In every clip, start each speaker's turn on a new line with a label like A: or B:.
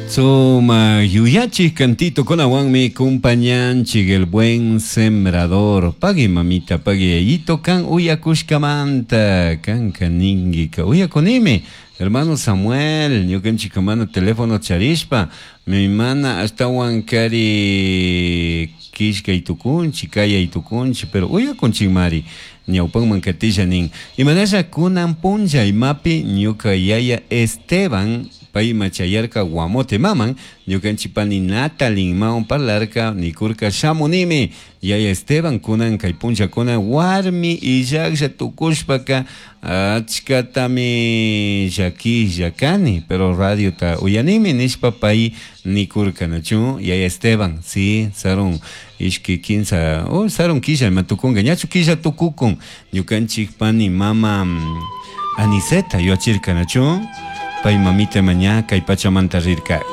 A: Suma yuyachik cantitokunawanmi kumpañanchik el buen sembrador. Pagui mamita, pagui yayito kan uyakushkamanta, kanka ningika uyakunimi. Hermano Samuel, ñukanchik mana teléfono charishpa, mi mana ashtawan kari killkay tukunchik, kayay tukunchik, pero uyakunchikmari. Ñawpanman katisha nin. Imanasha kunan punlla imapi ñuka yaya Esteban payma chayarka Guamote maman, ñukanchik pani Natalin mawan parlarka, nikurka shamunimi. Yaya Esteban kunan kay punllakuna warmi illaklla tukushpaka achkatami llakilla kani, pero radiota uyanimi nishpa pay nikurka nachu yaya Esteban, sí, sarun ishki kinsa, oh, sarun killa ima tukunka, ñachu killa tukukun, ñukanchik pani mama Aniseta yuachirka nachu, pay mamita maña kay pachamanta rirkaka.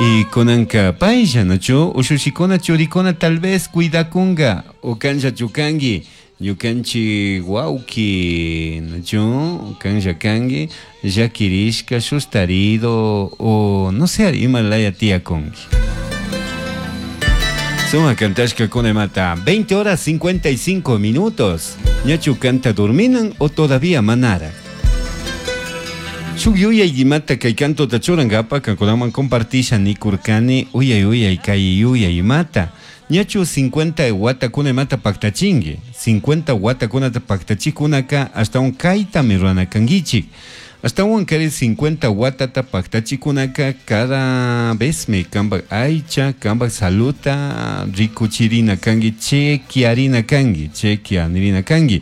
A: Y kunanka paylla nachu, ushushikuna churikuna tal vez cuidakunga, o kanlla chukangi, ñukanchik wawki nachu, kanlla kangi, llakirishka, sustarido, o no sé, ima laya tiyakunki. Suma kantashka kunemata, 20 horas 55 minutos. Ñachu kanta durminan o todavía manara. Shuk yuyay imata kay kantota churankapa kankunaman compartisha nikurkani uyay uyay kay yuyay imata. Ñachu 50 watakuna imata paktachinki. 50 watakunata paktachikunaka ashtawan kaytami rurana kankichik. Ashtawan kari 50 watata paktachikunaka cada vez me kanpak aycha, kanpak saluta rikuchirina kanki, chequearina kanki, chequeanirina kanki.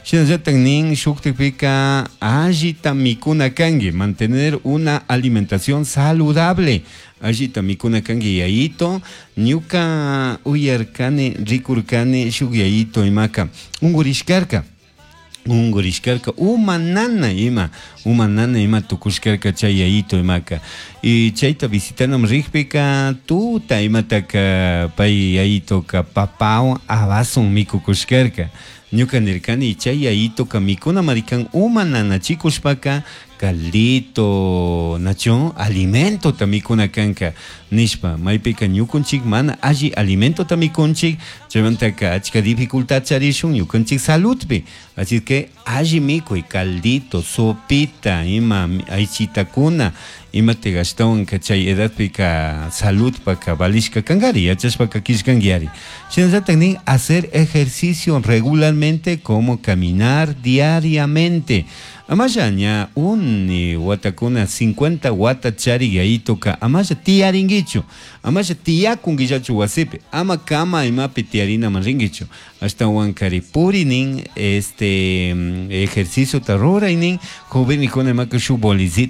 A: Shinallatak nin shuktikpika allita mikuna kanki, mantener una alimentación saludable. Allita mikuna kanki yayito, ñuka uyarkani, rikurkani shuk yayito imaka ungurishkarka. Ungurishkarka uma nana ima, uma nana ima tukushkarka chay yayito imaka. Y chayta visitanam rikpika tuta imataka pay yayitoka papawan abasun mikukushkarka. Ñuka nirkani chay yayitoka mikuna marikan uma nanachikushpaka caldito, nacho, alimentota mikuna kanka nishpa, maypika ñukunchik mana alli alimentota mikunchik, chaymantaka achka dificultad charishun ñukanchik saludpi. Así que alli mikuy, caldito, sopita, ima aychitakuna, imata ashtawanka chay edadpika saludpaka valishka kankari, yachashpaka killkankiari. Shinallatak nin hacer ejercicio regularmente como caminar diariamente. Amalla ña uni watakuna 50 wata chari yayitoka amalla tiyarinkichu, amalla tiyakunkillachu wasipi, ama kama imapi tiyarinaman rinkichu. Ashtawan kari purinin, este ejercicio ta ruraynin, jovenikuna imaka shuk bolicito.